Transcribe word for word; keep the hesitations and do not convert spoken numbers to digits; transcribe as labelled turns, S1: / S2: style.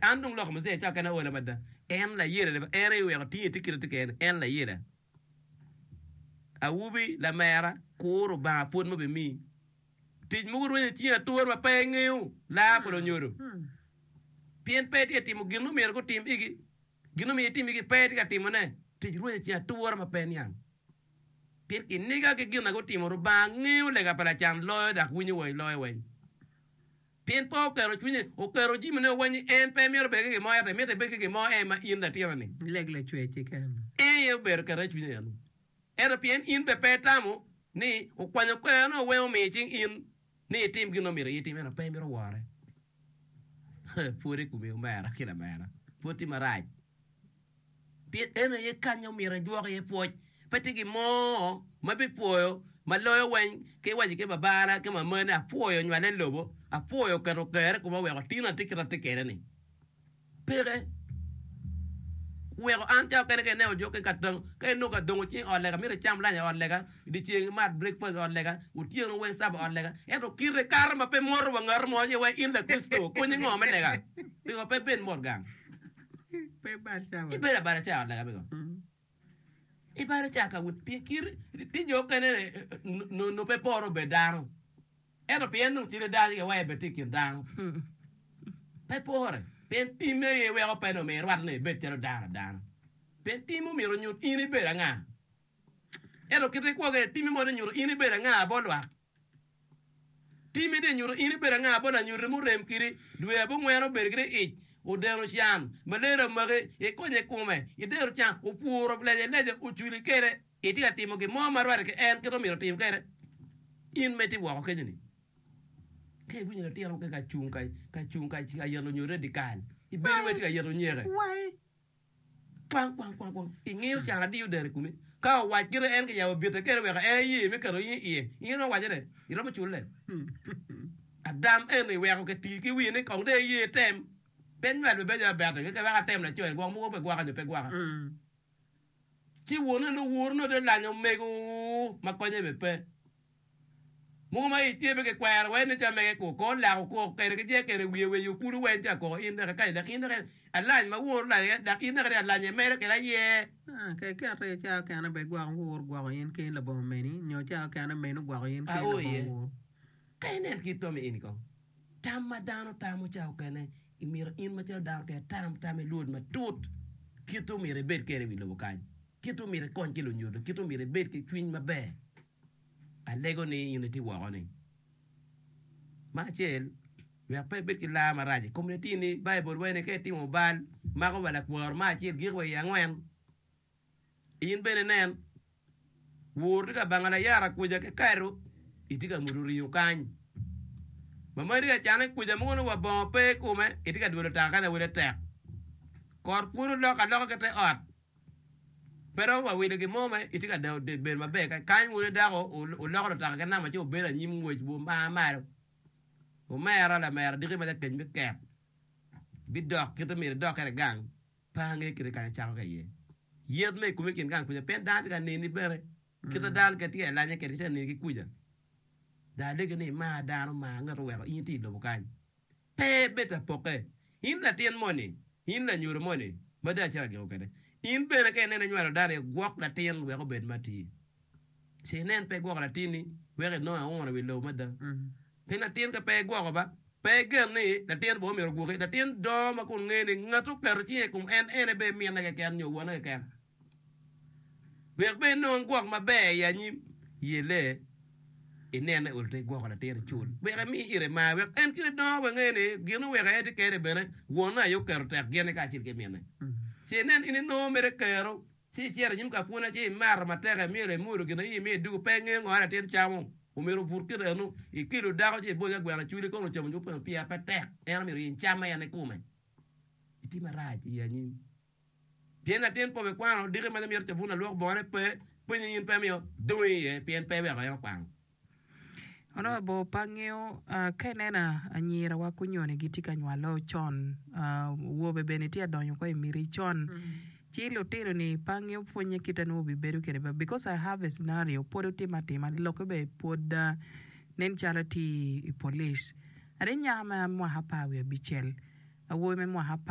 S1: An dong loko muzee ca kene ola mada. En layela en aye oweko tinge tye kite tye kene en layela. Awobi lamera kur Rubanga pwod ma obimiyi. Tic mogo rwenyo i cingi atura ma pe ingeyo laa pa lunyodo. Pien pe itye ka timo gin ma myero gutim igi, gin ma myero itim igi pe itye ka timone. Tic rwenyo i cingi atura ma pe iniang. Pien kiniga ki gin ma gutimo, Rubanga ngeyo lega pa lacan loyo dok winyo wa i loyo weng. Pien pe oketo cwinye, oketo jamine weng ni en pe myero obed ki gin mo ento emito ebed ki gin mo en ma in latinoni.
S2: Leg lacwec keken.
S1: En aye obedo kete i cwinye eno. Ento pien in bene pe itamo ni okwanyo kwerone weng omiyo i cing in ni itim gin ma myero itim ento pe imito wore. Pwod i komi omera ki lamera, pwod tye marac. Pien en aye kanya omyero ejwok iye pwoc. Pe tye gin mo ma bipwoyo ma loyo weng ki iwaco ki babana ki mamani ni apwoyo nywale i lobo, apwoyo keto kerre i koma weko tin atye kit ma atye kwede-ni. Peke. Weko an cawa kene ka ineno jo ka ka inongo ka dongo cing i ot lega myero icam lac i ot lega, dyeceng imat breakfast i ot lega, otyeno weng caba i ot lega. Ento kite kato ma pe moto wa ngat mo ci wai in Lakricito konyi ngo me lega? Pingo pe ibed mot gang? Ibedo abala ca i ot lega pingo? Ibalo ca ka wot pien kit tye jo okene nongo pe pore obed dano ento pien dong cite dano ci giweko ebed tye i kin dano pe pore pien timme aye weko pe dong myero irwatte ni ibed calo dano adana pien tim omyero onyut in ibedo anga ento kit ikwo kwede timmi mono nyuto in ibedo anga bot lwak. Timmi tye nyuto in ibedo anga bot lanyuti murem kidi dwe abongwen obedo kidi ic odeno can malaria omaki ikonye ikome ideno can opuro lece lece oculi kede itye ka timo gin mo ma rwate ki en kit ma myero otim kede in ma itye woko kenyo ni ka iwinyo latin mo ka cung ka cung ka yeto lunyodo dikal ibedo wai tye ka yeto nyeke. Kwang, kwang, kwang, kwang. Ingeyo can adiyo dero i komi. Ka owac kite en kiyabo bite kede weko en aye me keto in iye. In iromo waco ne, iromo culle. Adam eni weko kiti ki wiye ni kong dong eye tem. Pe nywal be bedo abete keken wek atem laco eni gwok mogo pe gwaka nyo pe gwaka. Ci wone nongo woro nongo tye lanyo omego ma konye be pe. Mogo ma i tye pe kikwero wai ni ca mege ko ko lako koko kede ki je kede wiye wiye okulu weng ca koko in dok kany dok in dok alany ma wun olany dok in dok alany imedo kede aye.
S2: Ka iketo iye ca okene be gwoko wur gwoko in keni labongo meni nyo ca okene meni ogwoko in keni labongo wur.
S1: Ka inen kit to me eni kong tam ma dano tamo ca okene imito in macalo dano kede tam tam ilwod matut kit omyero ibed kede i wi lobo kany kit omyero ikony ki lunyodo kit omyero ibed ki cwiny maber. Alego ni in itye woko ni. Me acel, wek pe ibed ki lar marac i kom latinni. Baibul waco ni ka itimo bal, mako wa lakwaro me acel giko wa i angwen. In bene inen, wor tye ka bango layara kwica ki kado, itye ka mudo ringo kany. Mamani tye ka cane kwica mogo nongo wa bongo pe i kome, itye ka dwelo taka kany awila tek. Kot pwod olok aloka ki te ot. Pe romo wa wilo gin mo ma itye ka bedo maber kany wun dako wuloko lutaka ki namba ci wubedo anyim ngwec wumar malo. Omera lamera diki ma lakec me ket bidok kite myero idok kwede gang pe ange kite kany icako ki iye. Yet me i komi i kin gang kwica pien dano tye ka neni bene kite dano kit tye ka lanye kwede gitye ka neni ki kwica. Dong alegi ni imar dano mar ngat oweko in itye i lobo kany. Pe ibed apokke. In latin moni, in lanyodo moni ma dong acito agiko kwede, in bene ka ineno inywalo dano, igwok latin wek obed matir. Ce inen pe igwoko latinni wek inong auna i wi lobo mada. Pien latin ka pe igwoko ba, pe igen ni latin bene myero ogwoki. Latin dongo ma kun ngeyo ni ngat oketo cinge i kom en, en aye bene minne keken nyo wonne keken. Wek bene inong gwok maber i anyim, yelle inene olo te igwoko latin icul. Wek imi ire mar, wek en kite dongo wek nge ni gin oweko en tye kene bene wonne aye oketo tek gine kacel ki minne. Ci inen in inongo mere kero, ci icito inyim ka pwonye ci imato matek imyelo imwodo gin aye imiyo idugo pe ingeyo ngo latin camo omyero obut kite eno ikelo dako ci iboyo ka gweno acwali kono ocamo nyo pe pire pe tek en omyero oyeny cam ma en ikome itye marac i anyim. Pien latin pe obikwano diki ma mito cabun lalwok bongone pe, penye in pe miyo dongi iye pien pe iweko en okwano.
S3: Honourable pe angeyo ka ineno anyira wa kunyoni gitye ka nywalo con awobe bene tye adonyo ko i miti con ci lutino ni pe angeyo pwonye kite nongo obibedo kwede ba because I have a scenario pwod otime atima lokke bene pwod nen calo tye i police ade nyako ma mwaka apar wiye abicel awobi me mwaka apar